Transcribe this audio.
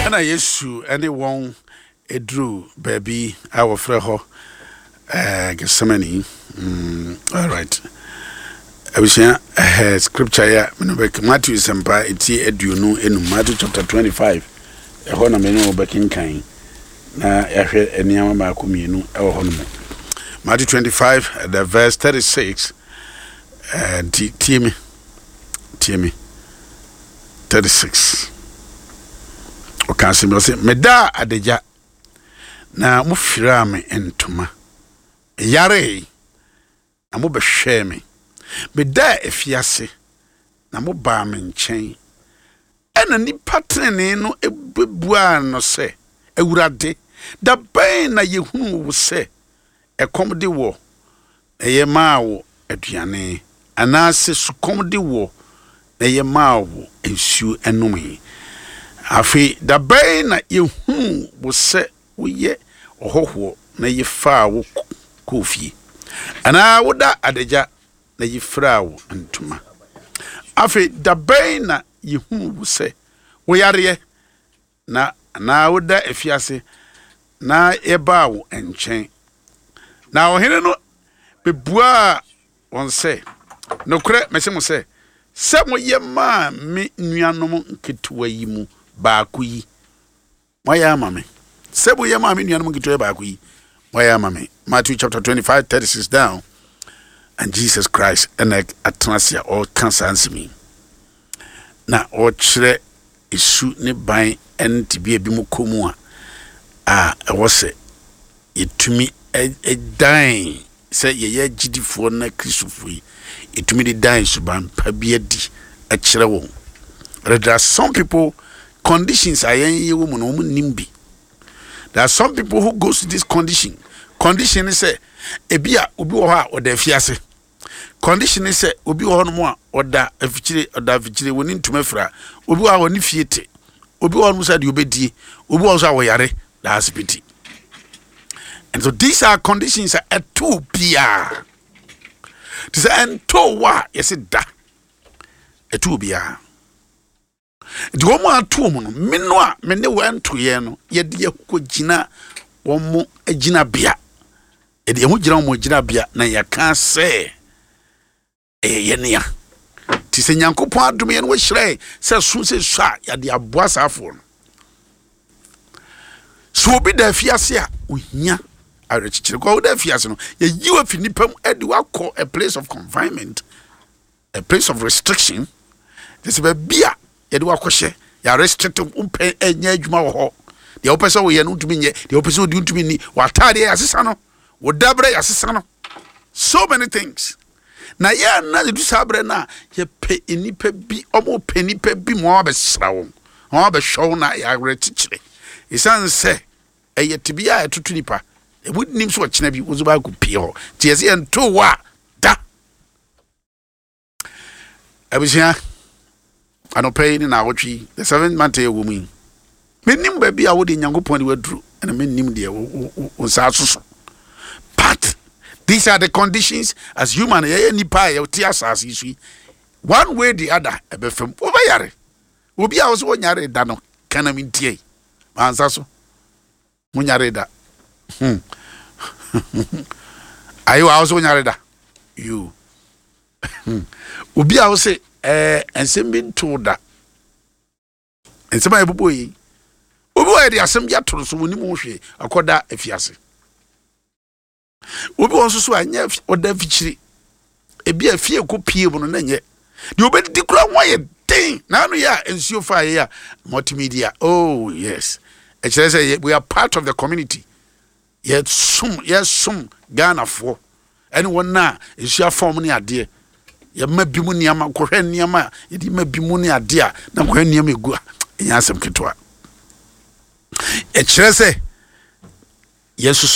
Ɛna Yesu ne wɔn duruu baabi a wɔfrɛ hɔ Gethsemane. All right. Abusua, scripture yɛ mene bɛk Matthew sɛmpa eti 25, Matthew chapter 25. Ɛhɔ na mene wo bɛkenkan na yɛahwɛ nneɛma baako mmienu ɛwɔ hɔ no mu. Matthew 25, the verse 36. Nti tie me, tie me. 36. Ɔka asɛm bi, ɔse, medaa adagya na mofiraa me ntoma. Meyaree na mobɛhwɛɛ me. Medaa afiase na mobaa me nkyɛn. Ɛna nnipa tenenee no bɛbuaa no sɛ, Awurade, da bɛn na yɛhunuu wo sɛ ɛkɔm de woɔ na yɛmaa wo aduane, anaasɛ sukɔm de woɔ na yɛmaa wo nsuo nomee? Afei da bɛn na yɛhunuu wo sɛ woyɛ ɔhɔhoɔ na yɛfaa wo kɔɔ fie, anaa woda adagya na yɛfiraa wo ntoma? Afei da bɛn na yɛhunuu wo sɛ woyareɛ na anaa woda afiase na yɛbaa wo nkyɛn? Na ɔhene no bɛbuaa wɔn sɛ, Nokorɛ mese mo sɛ, sɛ moyɛ maa me nuanom nketewa yi mu baako yi, moayɛ ama me. Sɛ moyɛ maa me nuanom nketewa yi baako yi, moayɛ ama me. Matthew chapter 25, 36 down. And Jesus Christ ɛna atena ase a ɔreka saa nsɛm yi. Na ɔrekyerɛ esu ne ban ne tebea bi mu kɔ mu a ɛwɔ sɛ yɛtumi dan sɛ yɛyɛ agyidifoɔ na Kristofoɔ yi, yɛtumi de dan suban pa bi adi kyerɛ wɔn. But there are some people, conditions a yɛn yɛwɔ mu no, wɔn nnim bi. There are some people who goes to this condition. Condition ne sɛ, ebi a obi wɔ hɔ a ɔda afiase. Condition ne sɛ obi wɔ hɔnom a ɔda afikyire, ɔda afikyire, wɔne ntoma fira. Obi wɔ hɔ a ɔne fie te. Obi wɔ hɔnom sɛ deɛ ɔbɛdie. Obi wɔ hɔ nso a ɔyare da asipiti. And so these are conditions a ɛto biara. Te sɛ ɛnto wɔ a yɛsi da. Ɛto biara. Nti wɔn a ato wɔn no, me no a me ne wɔn nto yɛn no, yɛde yɛn ho kɔgyina wɔn gyinabea. Yɛde yɛn ho gyina wɔn gyinabea na yɛka sɛ ɛyɛ yɛn nea. Nti sɛ Nyankopɔn adom yɛn wɔahyira yɛn sɛ so sɛ su a, yɛde aboa saa afoɔ no. Sɛ obi da afiase a, ohia awerɛkyekyere. Kɔ woda afiase no, yɛyi wo afi nipa mu de wakɔ a place of confinement, a place of restriction. Te sɛ baabi a yɛde wakɔhyɛ, yɛ restrict wompɛ ɛnyɛ adwuma wɔ hɔ. Deɛ wopɛ sɛ woyɛ no wontumi nyɛ, deɛ wopɛ sɛ wodi wontumi nni, w'ataadeɛ yɛasesa no, wo dabrɛ yɛasesa no. So many things. Na yɛn na yɛdu saa berɛ no a, yɛpɛ nnipa bi, wɔn pɛ nnipa bi ma wɔabɛsra wɔn, wɔn abɛhwɛ wɔn na yɛawerɛkyekyere. Ɛsiane sɛ ɛyɛ tebea a ɛtoto nipa, ɛmu nim sɛ ɔkyena bi wo nso baakɔ pie hɔ. Nti yɛsɛ yɛnto wɔ a da. Abusua, anɔpa yi ne naawɔtwe yi, the seventh month yɛ wɔ mu yi, mennim baabi a wode Nyankopɔn de waduru, ɛna mennim deɛ wo nsa asoso. But these are the conditions as human, yɛyɛ nipa a yɛte asase yi so yi, one way the other, ɛbɛfam, wobɛyare. Obi a wo sɛ wonyare da no, ka na mentie. Mansa so. Wonyare da. Ayewa, wo sɛ wonyare da. You. Obi a wo sɛ nsɛm bi ntoo da. Nsɛm a yɛbobɔ yi. Obi wɔ yɛde asɛm bi ato no so, wɔnim ho hwee, akɔda afiase. Obi wɔ nso so a nyɛ ɔda afikyiri. Ebi a fie kɔ pie mu no na nyɛ. Deɛ obɛdidi kura ho ayɛ den. Na ano yɛ a nsuo fa yɛ a multimedia. Oh yes. Ɛkyerɛ sɛ we are part of the community. Yɛsom Ghanafoɔ ɛne wɔn a nsuo afa wɔn ne adeɛ. Yɛma bi mu nneɛma, nkɔhwɛ nneɛma a yɛde ma bi mu ne adeɛ a na nkɔhwɛ nneɛma egu a ɛnyɛ asɛm ketewa. Ɛkyerɛ sɛ yɛn nso so.